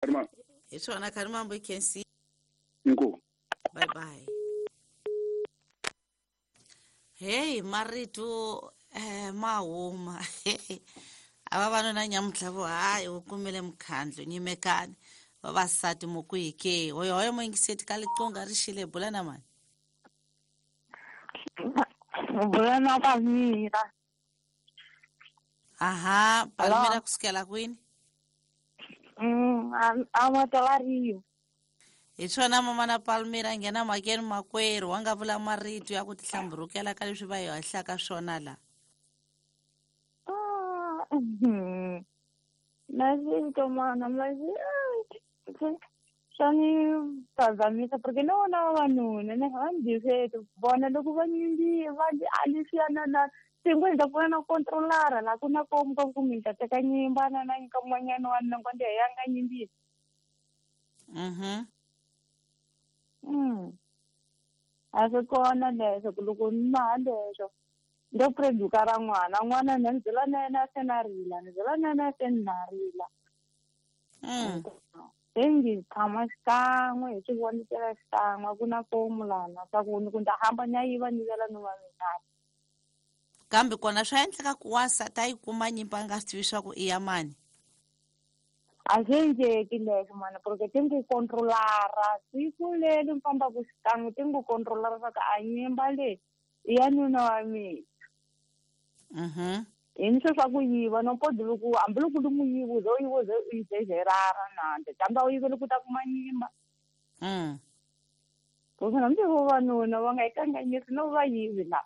Karima. Hi swona Kharimambo i khensi. Inkomu. Bye bye. Hey, marito ma huma. A vavanuna nyamuntlha vo hayi wu kumile mukhandlu nyimekani vavasati mu kwihi ke hoyo hoyo muyingiseti ka liqonga ri xile bula na mani. Bula na Palmira. Aha, Palmira kusukela kwini? A Matalariyo. Hi swona mama na Palmira nghena mhakeni makwerhu wa nga vula marito ya ku tihlamburukela ka leswi va hi hahlaka swona la. Naswitomana masi swa ni phazamisa porque no vona vavanuna ne va ni byiseti vona loko va nyimbi va alisiya na na tingo ni ta pfuna na controlara la ku na komu ka ku mi ta teka nyimba na na nyika mun'wanyana wa nna ngo ya nga nyimbisi. A swi kona leswo ku loko ni maha leswo ndo preduka ra n'wana n'wana na ni byela na yena se na rila ni byela na yena se ni na rila. Se ngi tshama xikan'we hi swi vonisela xikan'we ku na fomu lana swa ku ni ku ni ta hamba ni ya yiva ni vela ni wa mina. Kambe kona swa endleka ku wansati a yi kuma nyimpi a nga swi tivi swa ku i ya mani? A swi endleki leswo mana porque ti ngu controlara siku leri mi fambaka xikan'we ti ngu controlara swa ku a nyimba leyi i ya nuna wa mina. Hi ni swo swa ku yiva no podi loko hambiloko li n'wi yiva u ze u yiva u ze u yi zezerara nande kambe a wu yiveli ku ta kuma nyimba. Ku hambi vavanuna va nga yi kanganyisi no va yivi la.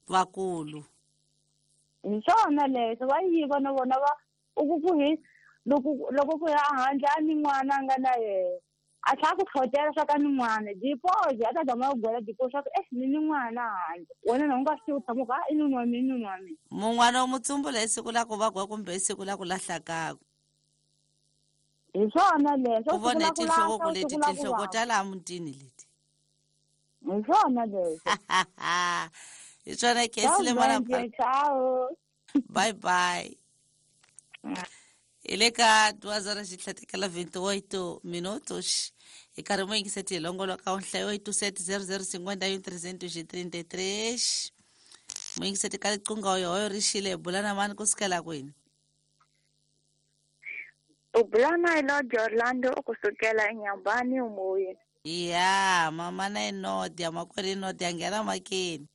Vakulu. Hi swona leswo va yiva na vona va u ku ku hi loko loko ku ya handle a ni n'wana a nga na yena a tlhela ku tlhotela swa ka ni n'wana dipozi a ta zama ku gwela dipozi swa ku ni ni n'wana handle wena na u nga swi tivi u tshama ku i nuna wa mina i nuna wa mina. Mun'wana u mu tsumbula hi siku la ku vagwa kumbe hi siku la ku lahla kaku. Hi swona leswo. U vone tinhloko ku leti tinhloko ta laha mutini leti. Hi swona leswo. Hi swona Khensile mana. Bye bye. Hi le ka 2h28 minutos hi karhi mo yingiseti hi longoloka nhlayo 87 00 51 333 mo yingiseti ka liqunga hoyo ri xile hi bula na mani ku sukela kwini? U bula na Elodie Orlando kusukela eNyambani umoyeni. Ya mama na Enodia makwerhu Enodia nghena makeni.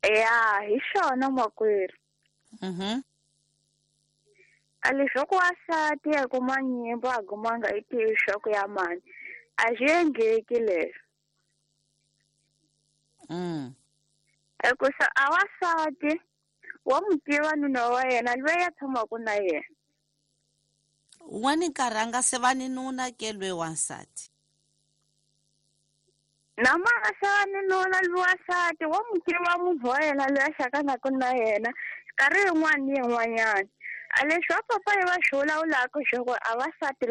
Ya hi xona makwerhu. A leswaku wansati a kuma nyimba a gumanga i tivi swa ku ya mani a swi endleki leswo. Hikusa a wansati wa n'wi tiva nuna wa yena loyi a tshamaka na yena. Un'wani nkarhi a nga se va ni nuna ke loyi wansati. Na ma nga se va ni nuna loyi wansati wa n'wi tiva munhu wa yena loyi a xakanaka na yena nkarhi yin'wana ni yin'wanyana. A leswi va papa yi va swi vulavulaka swa ku a vasati